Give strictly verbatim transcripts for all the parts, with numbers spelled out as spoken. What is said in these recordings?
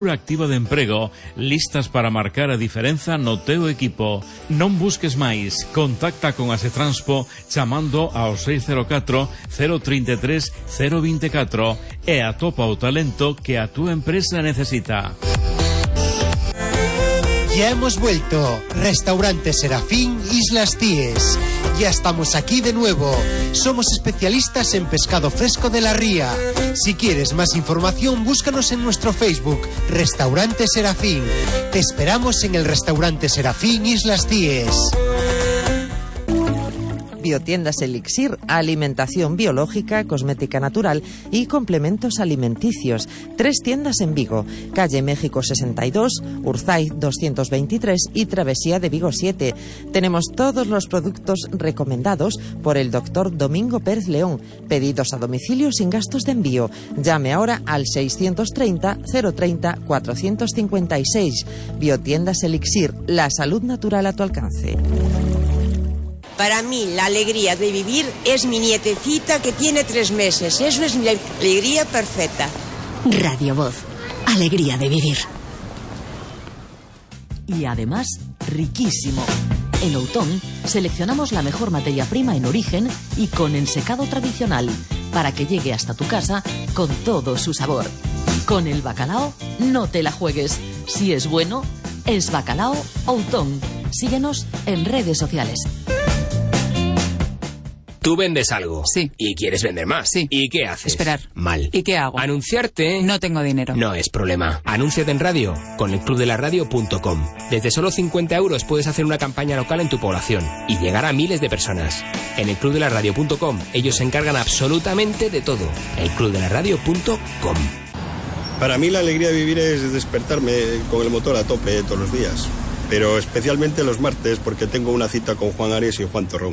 Activa de emprego, listas para marcar a diferenza no teu equipo. Non busques máis, contacta con Asetranspo chamando ao seis cero catro, cero trinta e tres, cero vinte e catro e atopa o talento que a túa empresa necesita. Ya hemos vuelto. Restaurante Serafín, Islas Cíes. Ya estamos aquí de nuevo. Somos especialistas en pescado fresco de la ría. Si quieres más información, búscanos en nuestro Facebook, Restaurante Serafín. Te esperamos en el Restaurante Serafín, Islas Cíes. Biotiendas Elixir, alimentación biológica, cosmética natural y complementos alimenticios. Tres tiendas en Vigo, calle México sesenta y dos, Urzay doscientos veintitrés y Travesía de Vigo siete. Tenemos todos los productos recomendados por el doctor Domingo Pérez León. Pedidos a domicilio sin gastos de envío. Llame ahora al seiscientos treinta, cero treinta, cuatrocientos cincuenta y seis. Biotiendas Elixir, la salud natural a tu alcance. Para mí, la alegría de vivir es mi nietecita que tiene tres meses. Eso es mi alegría perfecta. Radio Voz. Alegría de vivir. Y además, riquísimo. En Outón seleccionamos la mejor materia prima en origen y con ensecado tradicional para que llegue hasta tu casa con todo su sabor. Con el bacalao, no te la juegues. Si es bueno, es Bacalao Outón. Síguenos en redes sociales. Tú vendes algo. Sí. Y quieres vender más. Sí. ¿Y qué haces? Esperar. Mal. ¿Y qué hago? Anunciarte. No tengo dinero. No es problema. Anúnciate en radio con el club de la radio punto com. Desde solo cincuenta euros puedes hacer una campaña local en tu población y llegar a miles de personas. En el club de la radio punto com ellos se encargan absolutamente de todo. el club de la radio punto com. Para mí la alegría de vivir es despertarme con el motor a tope todos los días. Pero especialmente los martes porque tengo una cita con Juan Ares y Juan Torrón.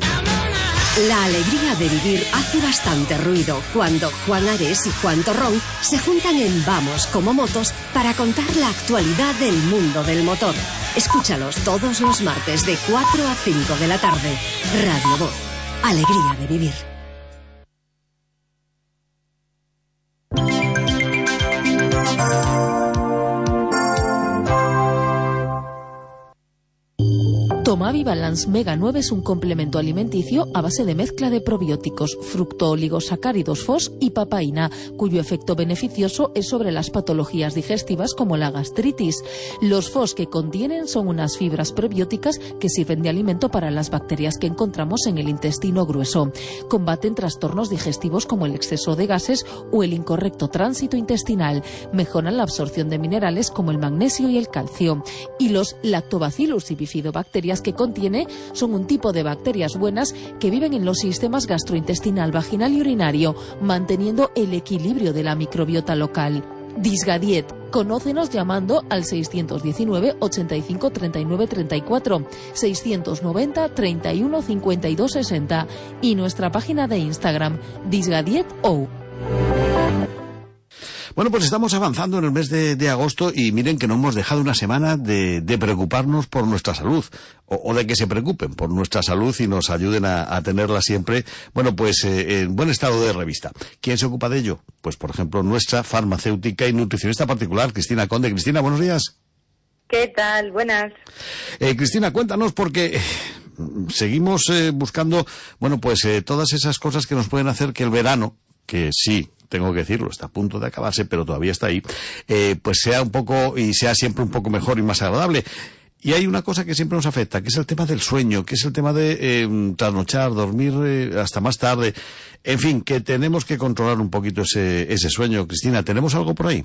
La alegría de vivir hace bastante ruido cuando Juan Ares y Juan Torrón se juntan en Vamos como Motos para contar la actualidad del mundo del motor. Escúchalos todos los martes de cuatro a cinco de la tarde. Radio Voz. Alegría de vivir. Tomavi Balance Mega nueve es un complemento alimenticio a base de mezcla de probióticos, fructooligosacáridos F O S y papaína, cuyo efecto beneficioso es sobre las patologías digestivas como la gastritis. Los F O S que contienen son unas fibras prebióticas que sirven de alimento para las bacterias que encontramos en el intestino grueso. Combaten trastornos digestivos como el exceso de gases o el incorrecto tránsito intestinal. Mejoran la absorción de minerales como el magnesio y el calcio. Y los Lactobacillus y bifidobacterias que contiene son un tipo de bacterias buenas que viven en los sistemas gastrointestinal, vaginal y urinario, manteniendo el equilibrio de la microbiota local. Disgadiet. Conócenos llamando al seiscientos diecinueve, ochenta y cinco, treinta y nueve, treinta y cuatro, seiscientos noventa, treinta y uno, cincuenta y dos, sesenta y nuestra página de Instagram, disgadietou. Bueno, pues estamos avanzando en el mes de, de agosto y miren que no hemos dejado una semana de, de preocuparnos por nuestra salud o, o de que se preocupen por nuestra salud y nos ayuden a, a tenerla siempre, bueno, pues eh, en buen estado de revista. ¿Quién se ocupa de ello? Pues, por ejemplo, nuestra farmacéutica y nutricionista particular, Cristina Conde. Cristina, buenos días. ¿Qué tal? Buenas. Eh, Cristina, cuéntanos porque... seguimos eh, buscando, bueno, pues eh, todas esas cosas que nos pueden hacer que el verano, que sí, tengo que decirlo, está a punto de acabarse, pero todavía está ahí, eh, pues sea un poco, y sea siempre un poco mejor y más agradable. Y hay una cosa que siempre nos afecta, que es el tema del sueño, que es el tema de eh, trasnochar, dormir eh, hasta más tarde. En fin, que tenemos que controlar un poquito ese, ese sueño. Cristina, ¿tenemos algo por ahí?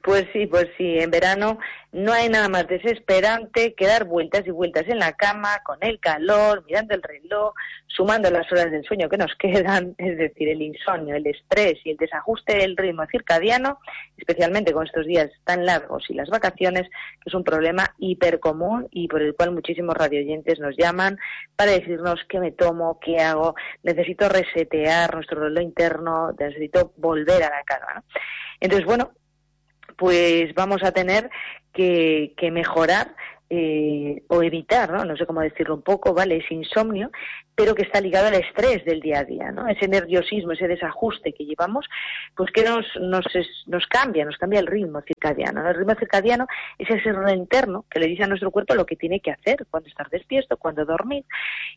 Pues sí, pues sí, en verano no hay nada más desesperante que dar vueltas y vueltas en la cama, con el calor, mirando el reloj, sumando las horas del sueño que nos quedan, es decir, el insomnio, el estrés y el desajuste del ritmo circadiano, especialmente con estos días tan largos y las vacaciones, que es un problema hipercomún y por el cual muchísimos radioyentes nos llaman para decirnos qué me tomo, qué hago, necesito resetear nuestro reloj interno, necesito volver a la calma, ¿no? Entonces, bueno, pues vamos a tener que, que mejorar eh, o evitar, ¿no? No sé cómo decirlo un poco, ¿vale? Ese insomnio, pero que está ligado al estrés del día a día, ¿no? Ese nerviosismo, ese desajuste que llevamos, pues que nos, nos, nos cambia, nos cambia el ritmo circadiano, ¿no? El ritmo circadiano es ese ritmo interno que le dice a nuestro cuerpo lo que tiene que hacer, cuando estar despierto, cuando dormir,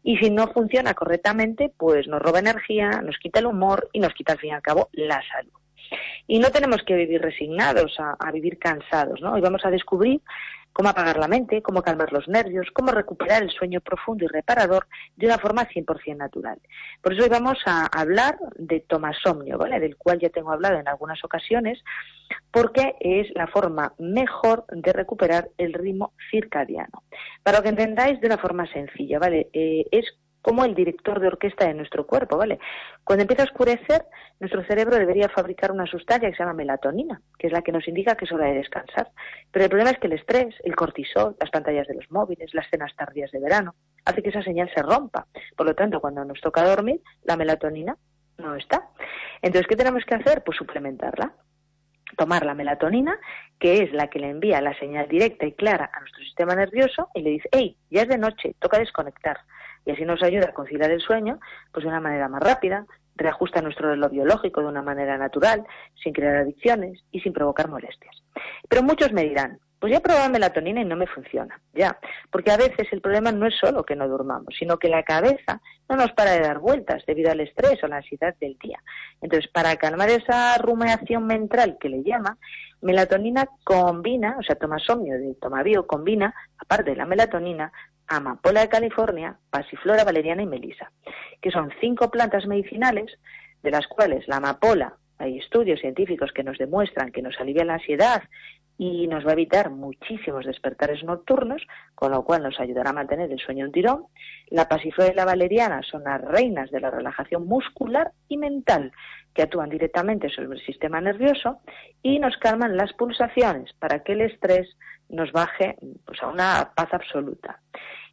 y si no funciona correctamente, pues nos roba energía, nos quita el humor y nos quita al fin y al cabo la salud. Y no tenemos que vivir resignados, a, a vivir cansados, ¿no? Hoy vamos a descubrir cómo apagar la mente, cómo calmar los nervios, cómo recuperar el sueño profundo y reparador de una forma cien por ciento natural. Por eso hoy vamos a hablar de tomasomnio, ¿vale? Del cual ya tengo hablado en algunas ocasiones, porque es la forma mejor de recuperar el ritmo circadiano. Para que entendáis de una forma sencilla, ¿vale? Eh, es como el director de orquesta de nuestro cuerpo, ¿vale? Cuando empieza a oscurecer, nuestro cerebro debería fabricar una sustancia que se llama melatonina, que es la que nos indica que es hora de descansar. Pero el problema es que el estrés, el cortisol, las pantallas de los móviles, las cenas tardías de verano, hace que esa señal se rompa. Por lo tanto, cuando nos toca dormir, la melatonina no está. Entonces, ¿qué tenemos que hacer? Pues suplementarla. Tomar la melatonina, que es la que le envía la señal directa y clara a nuestro sistema nervioso y le dice, hey, ya es de noche, toca desconectar. Y así nos ayuda a conciliar el sueño pues de una manera más rápida, reajusta nuestro reloj biológico de una manera natural, sin crear adicciones y sin provocar molestias. Pero muchos me dirán, pues ya he probado melatonina y no me funciona. Ya, porque a veces el problema no es solo que no durmamos, sino que la cabeza no nos para de dar vueltas debido al estrés o la ansiedad del día. Entonces, para calmar esa rumiación mental que le llama, melatonina combina, o sea, tomasomnio de Tomabio combina, aparte de la melatonina, amapola de California, pasiflora, valeriana y melisa, que son cinco plantas medicinales, de las cuales la amapola, hay estudios científicos que nos demuestran que nos alivia la ansiedad y nos va a evitar muchísimos despertares nocturnos, con lo cual nos ayudará a mantener el sueño en tirón. La pasiflora y la valeriana son las reinas de la relajación muscular y mental, que actúan directamente sobre el sistema nervioso y nos calman las pulsaciones para que el estrés nos baje pues, a una paz absoluta.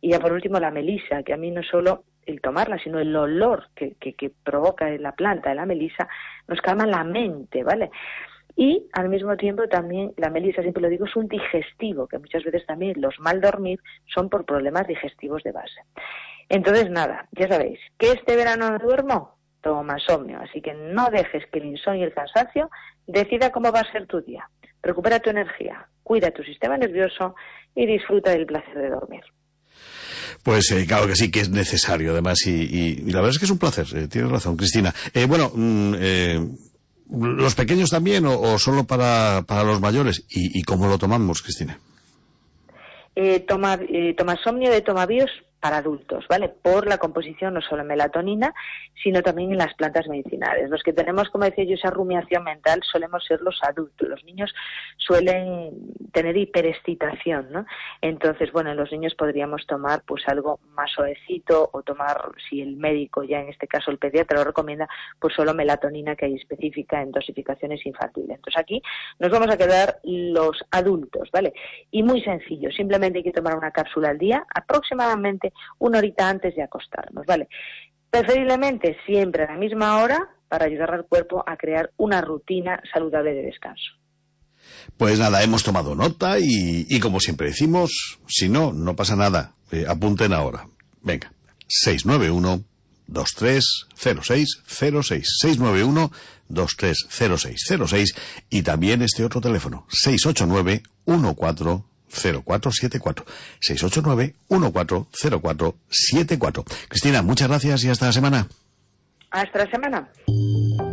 Y ya por último la melisa, que a mí no solo el tomarla, sino el olor que, que, que provoca la planta de la melisa, nos calma la mente, ¿vale? Y al mismo tiempo también la melisa, siempre lo digo, es un digestivo, que muchas veces también los mal dormir son por problemas digestivos de base. Entonces nada, ya sabéis, que este verano no duermo, tomasomnio, así que no dejes que el insomnio y el cansancio decida cómo va a ser tu día. Recupera tu energía, cuida tu sistema nervioso y disfruta del placer de dormir. Pues eh, claro que sí, que es necesario además y, y, y la verdad es que es un placer, eh, tienes razón, Cristina. Eh, bueno, mm, eh, ¿los pequeños también o, o solo para, para los mayores? ¿Y, y cómo lo tomamos, Cristina? Eh, toma, eh, tomasomnio de Tomabios para adultos, ¿vale? Por la composición no solo en melatonina, sino también en las plantas medicinales. Los que tenemos, como decía yo, esa rumiación mental solemos ser los adultos. Los niños suelen tener hiperexcitación, ¿no? Entonces, bueno, en los niños podríamos tomar pues algo más suavecito o tomar, si el médico, ya en este caso el pediatra, lo recomienda, pues solo melatonina que hay específica en dosificaciones infantiles. Entonces aquí nos vamos a quedar los adultos, ¿vale? Y muy sencillo, simplemente hay que tomar una cápsula al día, aproximadamente una horita antes de acostarnos, ¿vale? Preferiblemente siempre a la misma hora para ayudar al cuerpo a crear una rutina saludable de descanso. Pues nada, hemos tomado nota y, y como siempre decimos, si no, no pasa nada. Eh, apunten ahora. Venga, seis nueve uno, dos tres cero seis cero seis, seis nueve uno, dos tres cero seis cero seis y también este otro teléfono, seis ocho nueve, uno cuatro cero cuatro siete cuatro, seis ocho nueve, uno cuatro cero cuatro siete cuatro. Cristina, muchas gracias y hasta la semana. Hasta la semana.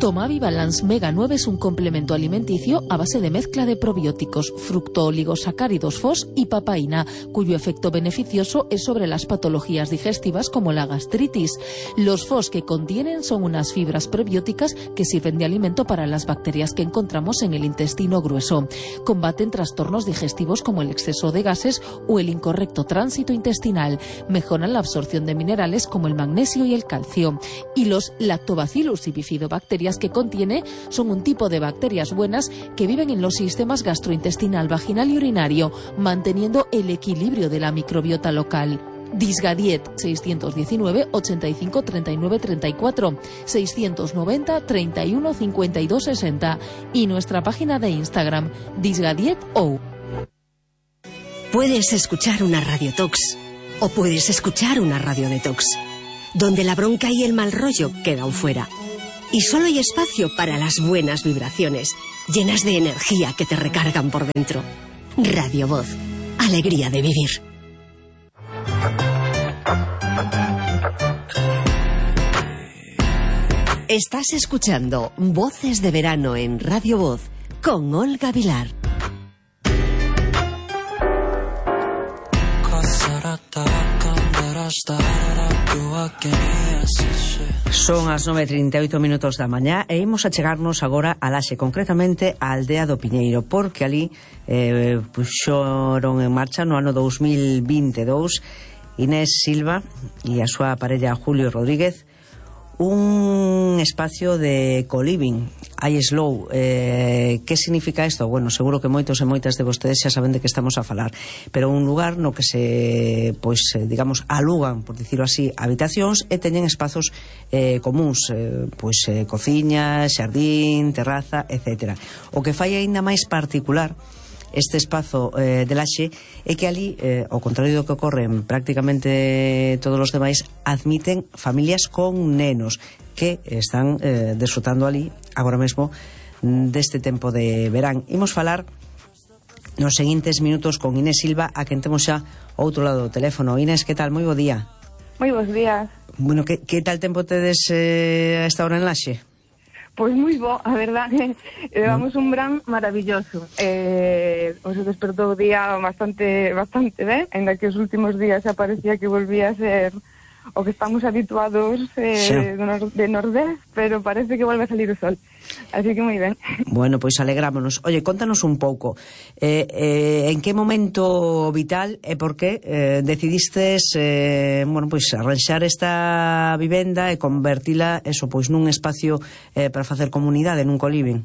Tomavi Balance Mega nueve es un complemento alimenticio a base de mezcla de probióticos, fructooligosacáridos F O S y papaína, cuyo efecto beneficioso es sobre las patologías digestivas como la gastritis. Los F O S que contienen son unas fibras prebióticas que sirven de alimento para las bacterias que encontramos en el intestino grueso. Combaten trastornos digestivos como el exceso de gases o el incorrecto tránsito intestinal. Mejoran la absorción de minerales como el magnesio y el calcio. Y los Lactobacillus y bifidobacterias que contiene son un tipo de bacterias buenas que viven en los sistemas gastrointestinal, vaginal y urinario, manteniendo el equilibrio de la microbiota local. Disgadiet seiscientos diecinueve, ochenta y cinco, treinta y nueve, treinta y cuatro, seiscientos noventa, treinta y uno, cincuenta y dos, sesenta y nuestra página de Instagram, Disgadiet O. Puedes escuchar una radiotox o puedes escuchar una radiodetox, donde la bronca y el mal rollo quedan fuera. Y solo hay espacio para las buenas vibraciones, llenas de energía que te recargan por dentro. Radio Voz, alegría de vivir. Estás escuchando Voces de Verano en Radio Voz con Olga Vilar. Son as nove e trinta e oito minutos da mañá e imos a chegarnos agora a Laxe, concretamente a Aldea do Piñeiro, porque ali eh, puxoron en marcha no ano dous mil vinte e dous Inés Silva e a súa parella Julio Rodríguez un espacio de co-living, iSlow. Eh, que significa isto? Bueno, seguro que moitos e moitas de vostedes xa saben de que estamos a falar, pero un lugar no que se, pois, digamos, alugan, por dicirlo así, habitacións e teñen espazos eh, comuns, eh, pois eh, cociña, xardín, terraza, etcétera. O que fai aínda máis particular este espazo eh, de Laxe é que ali, eh, ao contrario do que ocorre en prácticamente todos os demais, admiten familias con nenos que están eh, desfrutando ali agora mesmo deste tempo de verán. Imos falar nos seguintes minutos con Inés Silva, a quen temos xa ao outro lado do teléfono. Inés, que tal? Moi bo día. Moi bons días. Bueno, que, que tal tempo tedes eh, a esta hora en Laxe? Pois moi bo, a verdade, levamos un verán maravilloso. Eh, o se despertou o día bastante bastante ben, ainda que os últimos días xa parecía que volvía a ser o que estamos habituados eh, sí. de nordés, pero parece que volve a salir o sol. Así que moi ben. Bueno, pois alegrámonos. Oye, contanos un pouco, eh, eh, en que momento vital e por que eh, decidistes eh, bueno, pois arranxar esta vivenda e convertila eso, pois nun espacio eh, para facer comunidade, nun co-living?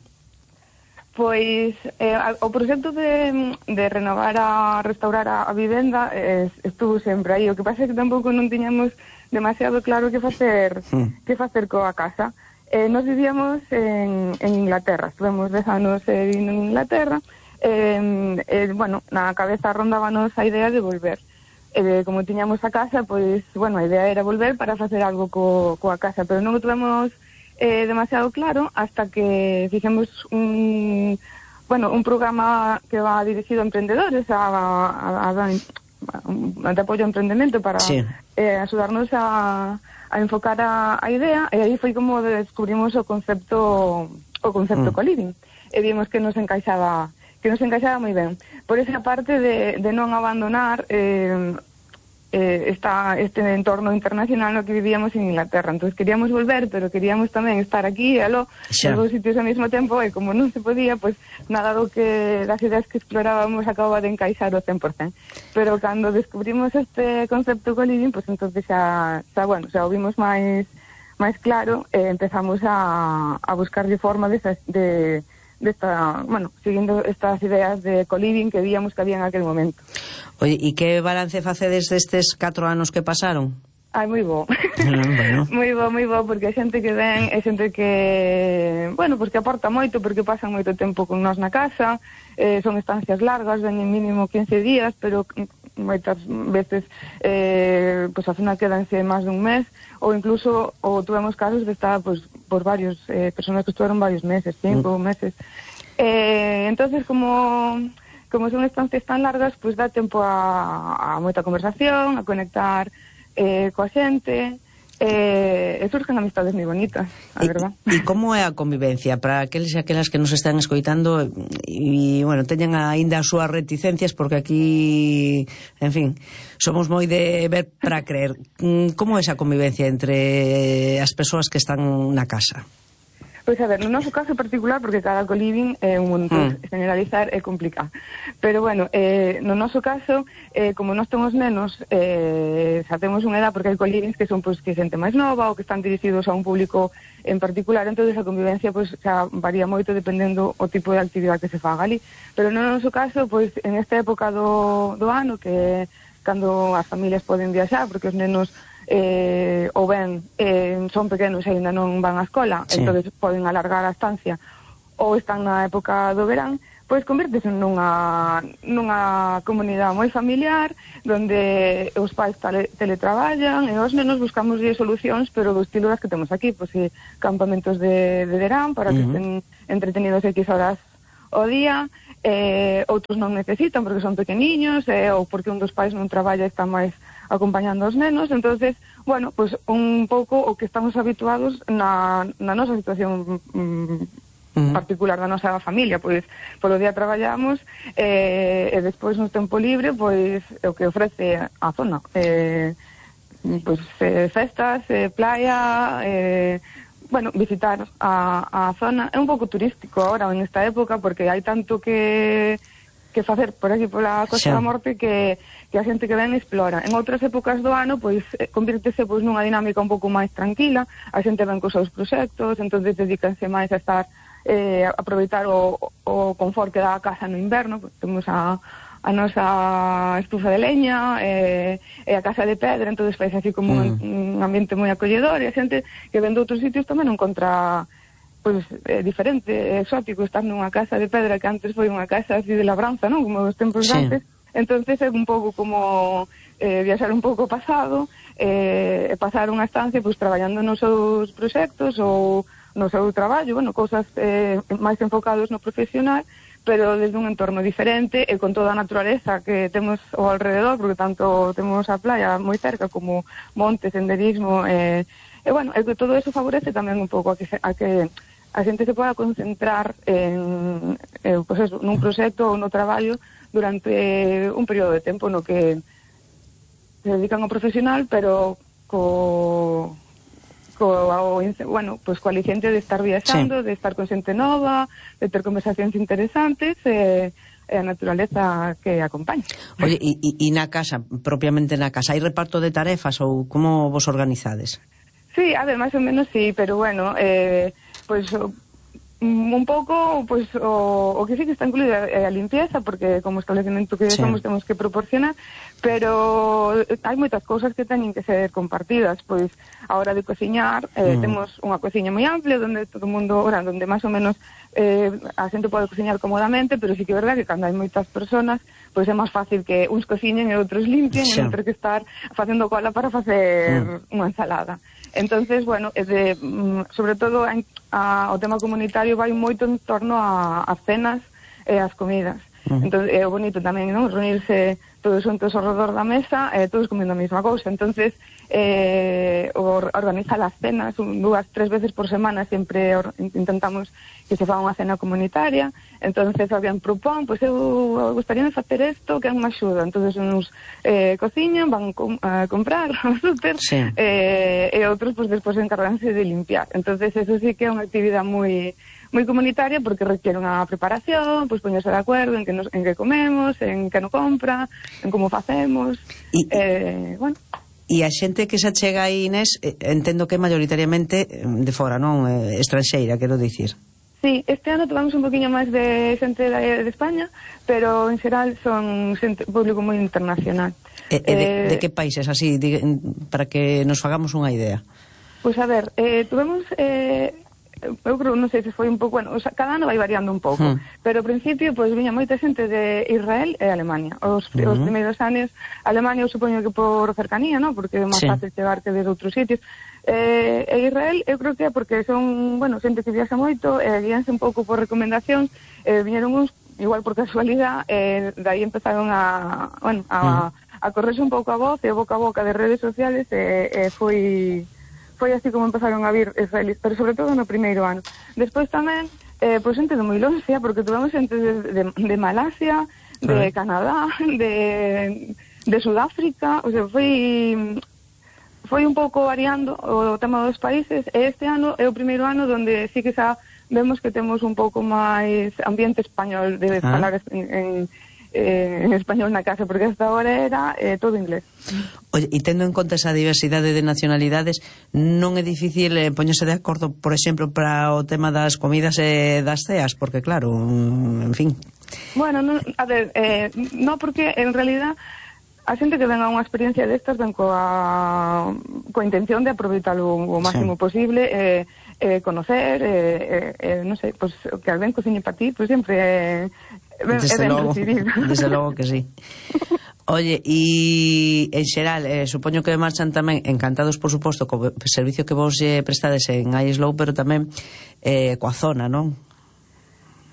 Pois eh, o proxecto de, de renovar a restaurar a, a vivenda eh, estuvo sempre aí. O que pasa é que tampouco non tiñamos demasiado claro que facer mm. que facer coa casa. Eh, nos vivíamos en, en Inglaterra, estuvemos dez anos eh, vivindo en Inglaterra. Eh, eh, bueno, na cabeza rondábanos a idea de volver. Eh, como tiñamos a casa, pois, bueno, a idea era volver para facer algo co, coa casa, pero non o tuvemos Eh, demasiado claro hasta que fixemos un bueno, un programa que va dirigido a emprendedores a, a, a, a, a de apoio ao emprendemento para sí. eh, axudarnos a, a enfocar a, a idea, e aí foi como descubrimos o concepto o concepto mm. co-living e vimos que nos encaixaba que nos encaixaba moi ben por esa parte de, de non abandonar eh, Eh, está este entorno internacional no que vivíamos en Inglaterra. Entonces queríamos volver, pero queríamos tamén estar aquí e aló, en dos sitios ao mesmo tempo, e como non se podía, pues nada do que das ideas que explorábamos acababa de encaixar o cen por cen. Pero cando descubrimos este concepto co-living, pues entonces xa, xa bueno, xa o vimos máis máis claro e empezamos a, a buscarlle forma de, de desta, bueno, seguindo estas ideas de co-living que víamos que había en aquel momento. Oye, e que balance facedes destes catro anos que pasaron? Ai, moi bo. Bueno. moi bo, moi bo, porque a xente que ven é xente que, bueno, pues que aporta moito, porque pasan moito tempo con nós na casa, eh, son estancias largas, ven en mínimo quince días, pero moitas veces eh, pues ao final quedanse máis dun mes, ou incluso ou tuvemos casos de estar pues, por varios eh, personas que estuveron varios meses, cinco mm. meses. Eh, entonces, como como son estancias tan largas, pues dá tempo a, a moita conversación, a conectar eh, coa xente, eh, e surgen amistades moi bonitas, a e, verdad. E como é a convivencia para aqueles e aquelas que nos están escoitando e, bueno, teñen aínda as súas reticencias, porque aquí, en fin, somos moi de ver para creer. Como é esa convivencia entre as persoas que están na casa? Pois a ver, no noso caso particular, porque cada co-living é un mundo, mm. generalizar é complicado. Pero bueno, eh, no noso caso, eh, como nós temos nenos, eh, xa temos unha edad, porque hai co-livings que son pois, que xente máis nova ou que están dirigidos a un público en particular, entonces a convivencia pois, xa varía moito dependendo o tipo de actividade que se faga ali. Pero no noso caso, pois, en esta época do, do ano, que cando as familias poden viaxar, porque os nenos eh, ou ben eh, son pequenos e ainda non van á escola, sí. Entonces poden alargar a estancia, ou están na época do verán, pois convértese nunha, nunha comunidade moi familiar, donde os pais tele, teletraballan e os nenos buscamos solucións, pero do estilo das que temos aquí, pois e campamentos de, de verán para que uh-huh. estén entretenidos X horas ao día, eh, outros non necesitan porque son pequeniños, eh, ou porque un dos pais non traballa e está máis acompañando aos nenos, entonces, bueno, pois un pouco o que estamos habituados na, na nosa situación mm, Uh-huh. particular da nosa familia, pois polo día traballamos eh, e despois no tempo libre pois o que ofrece a zona eh, pois eh, festas, eh, playa eh, bueno, visitar a, a zona é un pouco turístico agora en esta época porque hai tanto que que facer por aquí pola Costa sí. da Morte que, que a xente que ven explora. En outras épocas do ano pois convírtese pois nunha dinámica un pouco máis tranquila, a xente ven cos seus proxectos, entonces dedícanse máis a estar Eh, aproveitar o, o confort que dá a casa no inverno, pues, temos a, a nosa estufa de leña eh, e a casa de pedra, entonces faz así como mm. un, un ambiente moi acolledor e a xente que ven de outros sitios tamén non encontra pues, eh, diferente, exótico estar nunha casa de pedra que antes foi unha casa así de labranza, non? Como os tempos sí. antes, entonces é un pouco como eh, viaxar un pouco pasado e eh, pasar unha estancia pues, traballando nos seus proxectos ou no seu traballo, bueno, cousas eh, máis enfocados no profesional, pero desde un entorno diferente e con toda a naturaleza que temos ao alrededor, porque tanto temos a playa moi cerca como montes, senderismo, eh, e bueno, e que todo eso favorece tamén un pouco a que, a que a xente se poda concentrar en, eh, pues eso, nun proxecto ou no traballo durante un período de tempo no que se dedican ao profesional, pero co... Co, o, bueno, pues co aliciente de estar viaxando, sí. de estar con xente nova, de ter conversacións interesantes e, e a naturaleza que acompaña. Oye, e, e na casa, propiamente na casa, hai reparto de tarefas ou como vos organizades? Sí, a ver, máis ou menos sí, pero bueno, eh, pues un pouco, pues o, o que sí que está incluída é a limpieza, porque como establecemento que sí. somos temos que proporcionar, pero hai moitas cousas que teñen que ser compartidas, pois a hora de cociñar, eh, mm. temos unha cociña moi amplia onde todo o mundo, ora, onde máis ou menos eh, a xente pode cociñar cómodamente, pero sí que é verdade que cando hai moitas personas, pois é máis fácil que uns cociñen e outros limpien, sí. e non ter que estar facendo cola para facer mm. unha ensalada. Entonces, bueno, é de, sobre todo a, a, o tema comunitario vai moito en torno a, a cenas e as comidas. Uh-huh. Entón, é bonito tamén, non? Reunirse todos xuntos ao redor da mesa e todos comendo a mesma cousa. Entonces, eh, organizar as cenas dúas, tres veces por semana sempre or, intentamos que se faga unha cena comunitaria. Entonces, alguén propón, pois pues, eu gustaría facer isto, que é unha axuda. Entonces, uns eh, cociñan, van com, a comprar ao súper, sí. eh, e outros, pois, pues, despois encarganse de limpiar. Entonces, eso sí que é unha actividade moi moi comunitaria porque requiere unha preparación, pois pues, poñerse de acordo en que, nos, en que comemos, en que no compra, en como facemos. E, eh, bueno. E a xente que se achega aí, Inés, entendo que maioritariamente de fora, non? Eh, estranxeira, quero dicir. Sí, este ano tomamos un poquinho máis de xente de, de España, pero en xeral son xente, público moi internacional. E, e de, eh, de que países, así, de, para que nos fagamos unha idea? Pois pues, a ver, eh, tuvemos... Eh, eu creo, non sei se foi un pouco, bueno, o sea, cada ano vai variando un pouco, hmm. pero ao principio, pois, pues, viña moita xente de Israel e Alemania. Os, uh-huh. os primeiros anos, Alemania, eu supoño que por cercanía, non? Porque é máis sí. fácil chegar que de outros sitios. Eh, e Israel, eu creo que é porque son, bueno, xente que viaxa moito, e eh, guíanse un pouco por recomendacións, eh, viñeron uns, igual por casualidade, e eh, dai empezaron a, bueno, a, uh-huh. a correrse un pouco a voz, e boca a boca de redes sociales, e eh, eh, foi... foi así como empezaron a vir israelíes, pero sobre todo no primeiro ano. Despois tamén, eh, pois xente de moi longe, porque tuvemos xente de, de, de Malasia, de Canadá, de, de Sudáfrica, o sea, foi foi un pouco variando o tema dos países, e este ano é o primeiro ano onde sí que xa vemos que temos un pouco máis ambiente español de ah. falar en, en Eh, en español na casa, porque hasta ahora era eh, todo inglés. Oye, e tendo en conta esa diversidade de nacionalidades, non é difícil eh, poñerse de acordo, por exemplo, para o tema das comidas e das ceas, porque claro, en fin. Bueno, no, a ver, eh, no, porque en realidad a xente que ven a unha experiencia destas ven coa, coa intención de aproveitar o, o máximo sí. posible, eh, eh, conocer, eh, eh, non sei, pues, que alguén cociñe para ti, pues sempre é, é, desde é ben logo, recibido. desde logo que sí. Oye, e en xeral, eh, supoño que marchan tamén encantados, por suposto, co servicio que vos eh, prestades en iSlow, pero tamén eh, coa zona, non?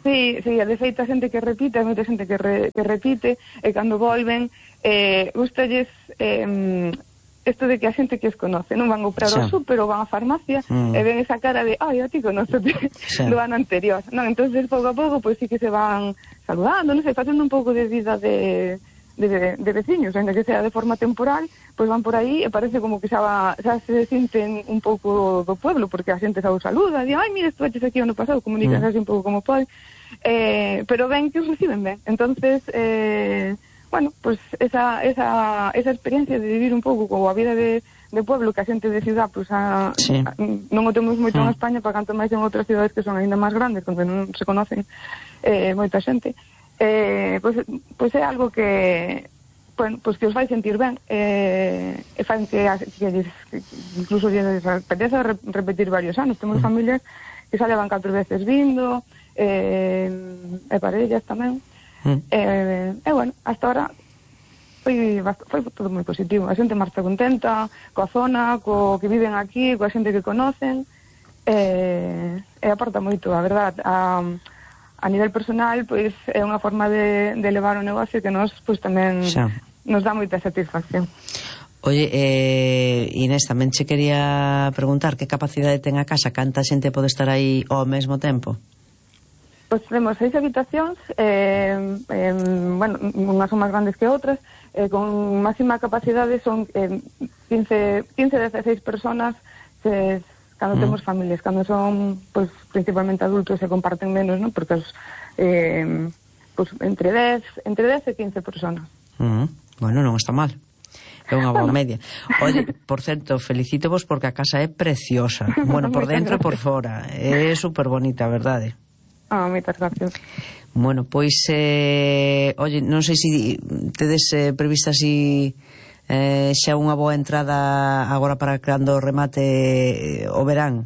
Sí, sí, de feito a xente que repite, a moita xente que, re, que repite, e cando volven, eh, gustalles eh, isto de que a xente que os conoce, non van a comprar ao súper ou van á farmacia, mm. e ven esa cara de, ai, a ti conócete, sí. do ano anterior, non? Entonces, pouco a pouco, pois pues, sí que se van saludando, non sei, facendo un pouco de vida de... De, de, de veciños, ainda que sea de forma temporal, pois van por aí e parece como que xa, va, xa se sinten un pouco do pueblo, porque a xente xa os saluda, di, ai, mira, estuaches aquí ano pasado, comunican mm. así un pouco como pode, eh, pero ven que os reciben ben. Entonces, eh, bueno, pois pues esa, esa, esa experiencia de vivir un pouco como a vida de, de pueblo, que a xente de ciudad, pois pues a, sí. a, non o temos moito mm. en España, para canto máis en outras cidades que son ainda máis grandes, onde non se conocen eh, moita xente. Eh, pois, pois é algo que bueno, pois que os vai sentir ben eh, e fan que, que, que incluso lles apetece repetir varios anos. Temos mm. familias que xa levan catro veces vindo eh, e parellas tamén mm. eh, e bueno, hasta ahora foi, foi todo moi positivo, a xente marcha contenta coa zona, co que viven aquí, coa xente que conocen eh, e aporta moito, a verdad. A, a nivel personal, pois é unha forma de, de levar o negocio que nos pois tamén xa. Nos dá moita satisfacción. Oye, eh, Inés, tamén che quería preguntar que capacidade ten a casa, canta xente pode estar aí ao mesmo tempo? Pois temos seis habitacións, eh, eh, bueno, unhas son máis grandes que outras, eh, con máxima capacidade son eh, quince, quince, dezasseis personas, se cando mm. temos familias, cando son pois principalmente adultos se comparten menos, non? Porque os, eh, pois entre dez, entre dez e quince personas. Mm. Bueno, non está mal. É unha boa bueno. media. Oye, por certo, felicítovos porque a casa é preciosa. Bueno, por dentro e por fora. É super bonita, verdade? Ah, moitas gracias. Bueno, pois eh, oye, non sei se tedes eh, prevista si Eh, xa unha boa entrada agora para cando remate o verán?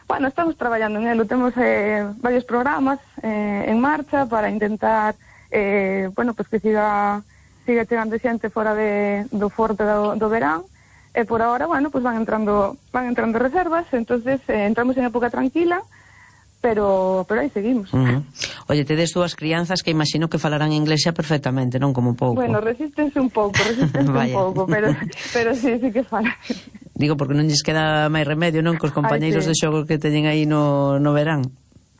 Bueno, estamos traballando en elo, temos eh, varios programas eh, en marcha para intentar eh, bueno, pues que siga siga chegando xente fora de, do forte do, do verán e por ahora, bueno, pues van entrando van entrando reservas, entonces eh, entramos en época tranquila, pero pero aí seguimos. Uh-huh. Oye, tedes dúas crianzas que imagino que falarán inglés xa perfectamente, non como un pouco. Bueno, resístense un pouco, resístense un pouco, pero pero sí, sí que falan. Digo, porque non lles queda máis remedio, non, cos compañeiros Ay, sí. de xogo que teñen aí no, no verán.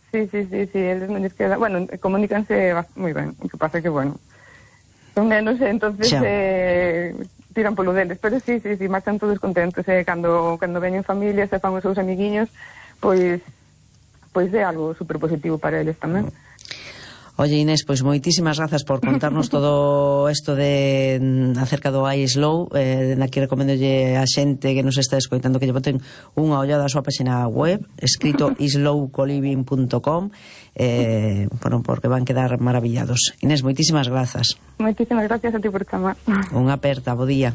Sí, sí, sí, sí, eles non lles queda... Bueno, comunícanse moi ben, o que pasa que, bueno, son menos, entonces eh, tiran polo deles, pero sí, sí, sí, marchan todos contentos, eh, cando, cando veñen familias e fan os seus amiguiños, pois... pois é algo super positivo para eles tamén. Oye, Inés, pois moitísimas grazas por contarnos todo isto de acerca do iSlow. Eh, aquí recomendolle a xente que nos está escoitando que lle boten unha ollada á súa página web, escrito islow coliving punto com, eh, bueno, porque van quedar maravillados. Inés, moitísimas grazas. Moitísimas gracias a ti por chamar. Unha aperta, bo día.